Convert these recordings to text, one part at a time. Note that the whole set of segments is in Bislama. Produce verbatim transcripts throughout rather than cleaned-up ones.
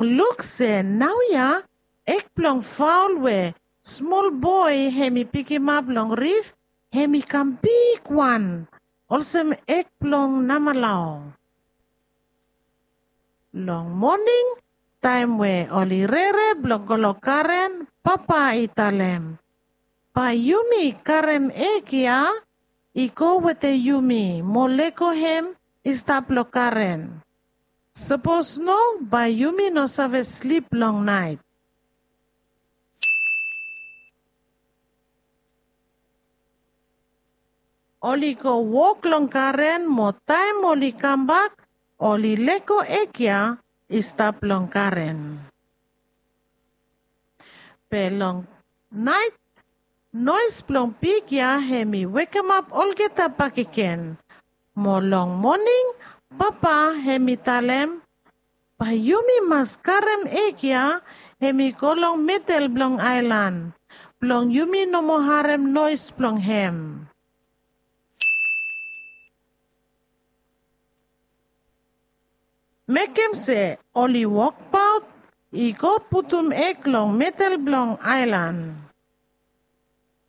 Luk se naoia ek blong faol we smol boe hem i pikimap long rif hem i kam bigwan olsem ek blong namalao. Long moning taem we oli rere blong go long garen, papa i talem, bae yumi karem ek ya i go wetem yumi mo lego hem i stap long garen. Sapos no, bae yumi no save slip long naet. Oli go wok long garen mo taem oli kambak oli lego ek ya i stap long garen. Be long naet noes blong pig ya hem i wekemap olgeta bakegen. Mo long moning papa hem i talem, bae yumi mas karem ek ya hem i go long medel blong aelan blong yumi no moa harem noes blong hem. Mekem se oli wokbaot i go putum ek long medel blong aelan.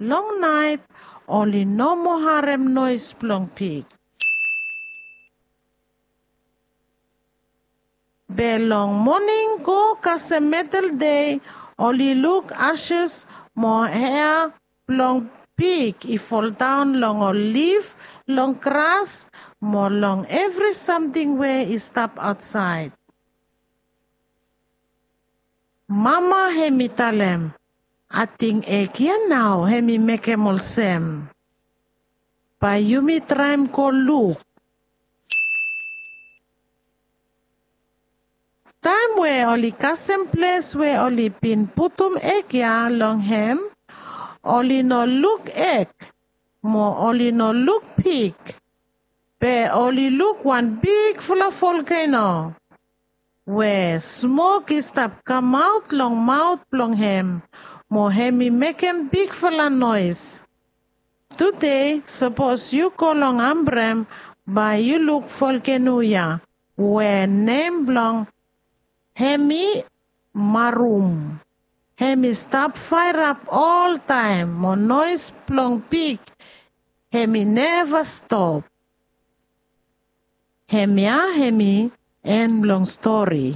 Long naet oli no moa harem noes blong pig. Be long moning go kasem medel dei oli luk ases mo hea blong pig i foldaon long ol lif long gras mo long evri samting we i stap aotsaed. Mama hem i talem, ating ek ya nao hem i mekem olsem. Bae yumi traem go luk. Taem we oli kasem ples we oli bin putum ek ya long hem, oli no luk ek mo oli no luk pig. Be oli luk wan bigfala volkeno we smok i stap kamaot long maot blong hem mo hem i mekem bigfala noes. Tude sapos yu go long Ambrem bae yu luk volkeno ya we nem blong hem i Marum. Hem i stap faerap oltaem mo noes blong pig hem i neva stop. Hemia hem i en blong stori.